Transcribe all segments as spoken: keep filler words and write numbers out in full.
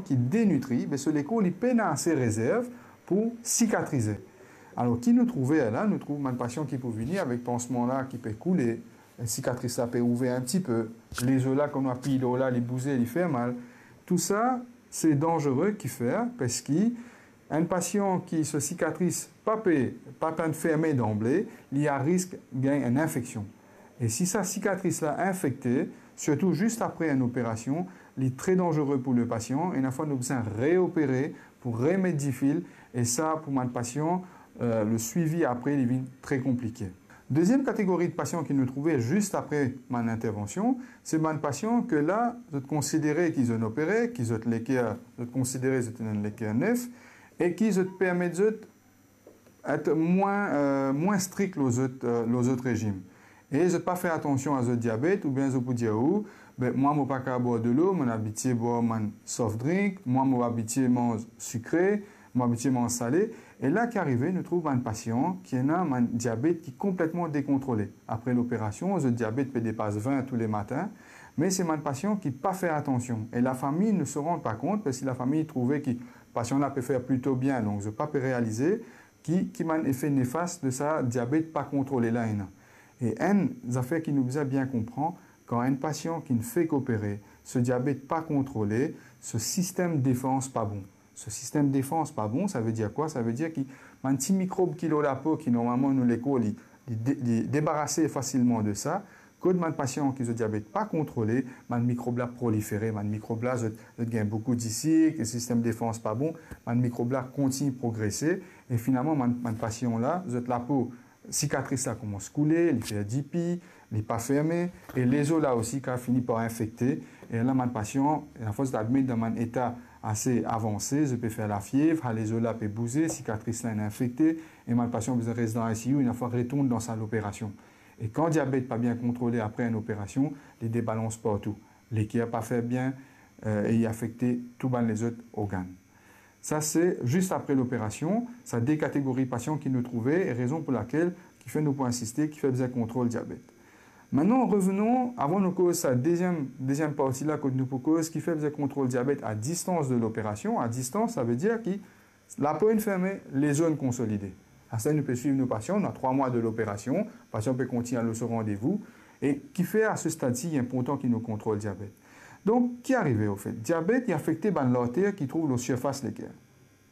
ki denitri, be so lekor li pena ase rezerv pou sikatrize. Alor, ki nou trouve la? Nou trouv bann pasian ki pou vini avek pansman la ki pe koule, sikatris la pe ouver enn tipe, lezo la, kan nou apiy lor la, li bouze, li fer mal. Tou sa, se danzere ki fer, parski enn pasian ki so sikatris pa pe, pa pe ferme danble, li a risk gagn enn infeksion. E si sa sikatris la infekte, sirtou zis apre enn operasion, li tre danzere pou le pasian, e enn fwa nou bizin reopere pou remet difil, e sa, pou bann pasian, eh, le swivi apre, li vinn tre konplike. Deziem kategori de pasian ki nou trouve zis apre bann intervansion, se bann pasian ke la, zot konsidere ki zot opere, ki zot leker, zot konsidere zot ena enn leker nef, e ki zot permet zot et mwin, eh, mwin strik lor zot, eh, lor zot rezim. E zot pa fer atansion a zot diabet, oubien zot pou dir ou, be, mwa, mo pa kapav bwar delo, mo abitie bwar bann soft drink, mwa, mo abitie manz sikre, mo abitie manz sale. E la ki arive, nou trouv bann pasian ki ena bann diabet ki konpletman dekontrole. Apre loperasion, zot diabet pe depas vin tou le matin, me se bann pasian ki pa fer atansion. E lafami ne se rend pa kont, parski lafami trouve ki pasian la pe fer plito bien, donk zot pa pe realize ki, ki bann efe nefas de sa diabet pa kontrole la ena. E enn zafer ki nou bizin bien konpran, kan enn pasian ki fek opere, so diabet pa kontrole, so sistem defans pa bon. So sistem defans pa bon, savedir kwa? Savedir ki bann ti mikrob ki lor lapo, ki normalman nou lekor li, li de-, li debarase fasilman de sa, kot bann pasian ki zot diabet pa kontrole, bann mikrob la prolifere, bann mikrob la, zot, zot gagn boukou disik, e sistem defans pa bon, bann mikrob la kontign progrese, e finalman, bann, bann pasian la, zot lapo, sikatris la koumans koule, li fer dipi, li pa ferme, e lezo la osi kapav fini par infekte, e la, bann pasian, a fors zot admet dan bann eta ase avanse, zot pe fer lafiev, sa lezo la pe bouze, sikatris la inn infekte, e bann pasian bizin res dan I C U, inn fwa retourn dan sal operasion. E kan diabet pa bien kontrole apre enn operasion, li debalans partou. Leker pa fer bien, eh, e li afekte tou bann lezot organn. Sa se zis apre loperasion, sa de kategori pasian ki nou trouve, e rezon pou lakel ki fer nou pou insiste, ki fer bizin kontrol diabet. Mintnan, revenon, avan nou koz sa deziem, deziem parti la, kot nou pou koz ki fer bizin kontrol diabet a distans de loperasion. A distans, savedir ki lapo inn ferme, lezo inn konsolide. Aster nou pe swiv nou pasian, nou a trwa mwa de loperasion, pasian pe kontign al lor so randevou, e ki fer a se stad si, li inportan ki nou kontrol diabet. Donk, ki arive, anfet? Diabet, li afekte bann larter ki trouv lor sirfas leker.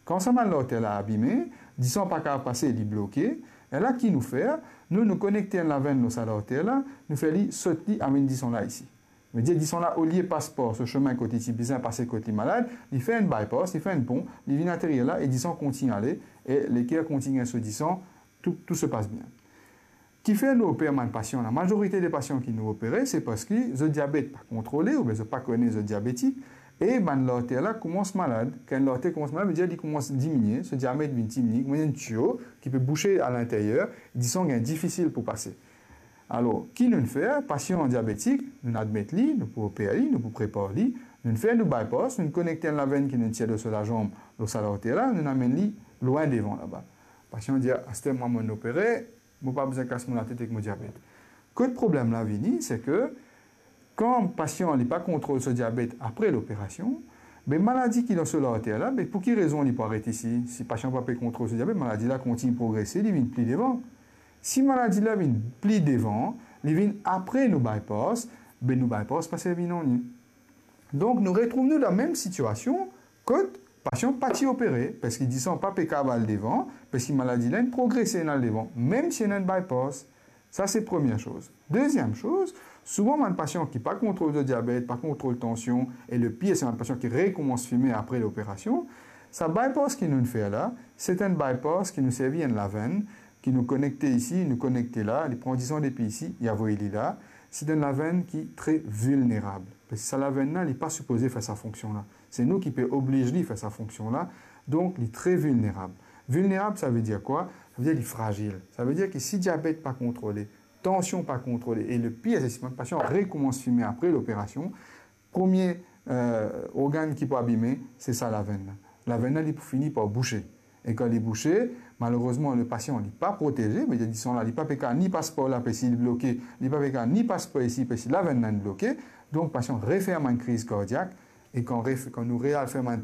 Kan sa bann larter la abime, disan pa kapav pase, li bloke, e la, ki nou fer? Nou, nou konekte enn lavenn lor sa larter la, nou fer li sot li, amenn disan la isi. Vedir disan la, olie pas par so semin kot li ti bizin pase kot li malad, li fer enn bypass, li fer enn pon, li vinn aterir la, e disan kontign ale, e leker kontign so disan, tou, tou se pas bien. Ki fer nou oper bann pasian la? Mazorite de pasian ki nou opere, se parski zot diabet pa kontrole, oubien zot pa kone zot diabetik, e bann larter la koumans malad. Kan enn larter koumans malad, vedir li koumans diminie, so diamet vinn diminye, kouma enn tiyo ki pe bouse a linteryer, disan gagn difisil pou pase. Alor, ki nou fer? Pasian diabetik, nou admet li, nou pou oper li, nou pou prepar li, nou fer nou bypass, nou konekte enn lavenn ki nou tir lor so lazanm, lor sa larter la, nou amenn li lwin devan laba. Pasian dir, aster mwa, mo'nn opere, mo pa bizin kas mo latet ek mo diabet. Kot problem la vini, se ke kan pasian li pa kontrol so diabet apre loperasion, be maladi ki dan so larter la, be pou ki rezon li pou aret isi? Si pasian pa pe kontrol so diabet, maladi la kontign progrese, li vinn pli devan. Si maladi la vinn pli devan, li vinn apre nou bypass, be nou bypass pa servi nanye. Donk, nou retrouv nou dan mem sitiasion kot pasian pa ti opere, parski disan pa pe kapav al devan, parski maladi la inn progrese, inn al devan, mem si ena enn bypass. Sa se premie soz. Deziem soz, souvan bann pasian ki pa kontrol zot diabet, pa kontrol tansion, e le pir, se bann pasian ki rekoumans fime apre loperasion, sa bypass ki nou fer la, se enn bypass ki nou servi enn lavenn, ki nou konekte isi, nou konekte la, li pran disan depi isi, li avoy li la. Se enn lavenn ki tre vilnerab. Parski sa lavenn la, li pa sipoze fer sa fonksion la. Se nou ki pe obliz li fer sa fonksion la. Donk, li tre vilnerab. Vilnerab, savedir kwa? Savedir li frazil. Savedir ki si diabet pa kontrole, tansion pa kontrole, e le pir, se si bann pasian rekoumans fime apre loperasion, premie, eh, organn ki pou abime, se sa lavenn la. Lavenn la, li pou fini par bouse. E kan li bouse, malerezman, le pasian, li pa proteze, vedir disan la, li pa pe kapav ni pas par la, parski li bloke, li pa pe kapav ni pas par isi, parski lavenn la inn bloke, donk pasian refer bann kriz kardiak, e kan ref-, kan nou real fer bann